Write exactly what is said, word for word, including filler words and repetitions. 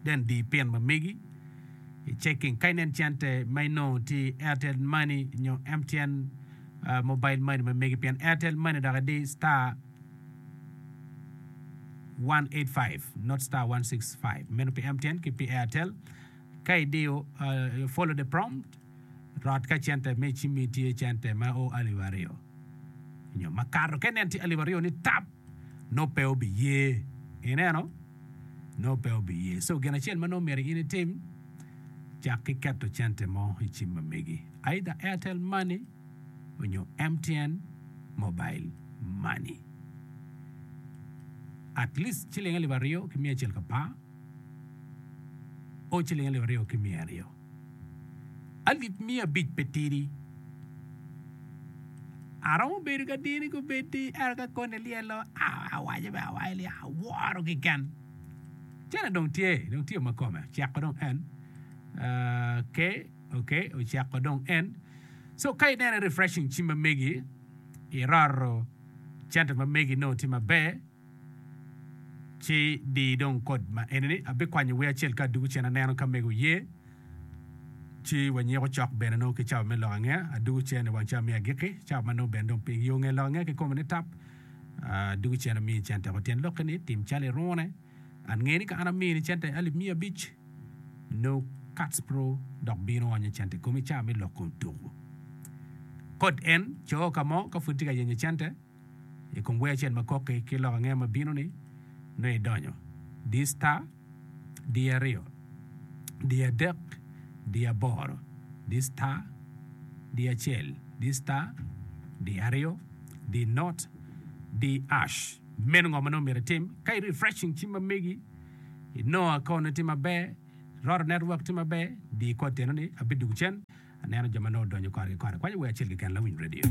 Then di pin ma megi i checking ka inen cente ma inongo tye i Airtel Money nyo M T N uh, mobile money ma megi, pien Airtel Money dok idi star one eight five, not star one six five. Meno pi M T N ki pi Airtel. Ka idiyo, uh, follow the prompt, rot ka cente me cimmi tye cente ma o alip aryo nyo makato. Ka inen tye alip aryo ni tap, no pe obiye, ineno, no pe obiye. So gin acel ma nongo myero in itim, cak ki keto cente mo i cim ma megi, either Airtel Money onyo M T N mobile money, at least ciling alip aryo ki miya acel ka par o ciling alip aryo ki miya aryo. Alip miya abic pe tidi. Aromo bedo ka dini gubedi, ento ka koni lyelo awaco be awaco ni aworo keken. Cene dong tye, dong tye ma kome oceko dong en ke ok, oceko dong en. So ka ineno refreshing cim ma megi, iroro cente ma megi nongo tye maber, ci di dong kod ma enini abikwanyo wer acel ka adugo cen. Aneno ka mego ye, ci wanyiko cok bene nongo ki cawa me lok angeya. Adugo cen i wang cawa me agikki, cawa ma nongo bene dong pi yo nge lok angeya kikome ni tap. Adugo cen, amiyi cente ko tyen lokke ni tim calo irune. An nge ni ka an amini cente alip miya abic, no Kats Pro dok bino onyo cente i komi cawa me loko tuku kod en co ka mo ka pud tye ka yenyo cente i kom wer acel ma koki ki lok angeya ma bino ni nongo idonyo di star di aryo di adek di aboro di star di acel di star di aryo di not di hash. Meno ngo ma nongo myero itim ka i refreshing cim ma megi, inongo account tye maber, roto network tye maber, di kod teno ni abidugo cen. Aneno jo ma nongo odonyo kore ki kore kwanyo wer acel keken. Lawiny radio.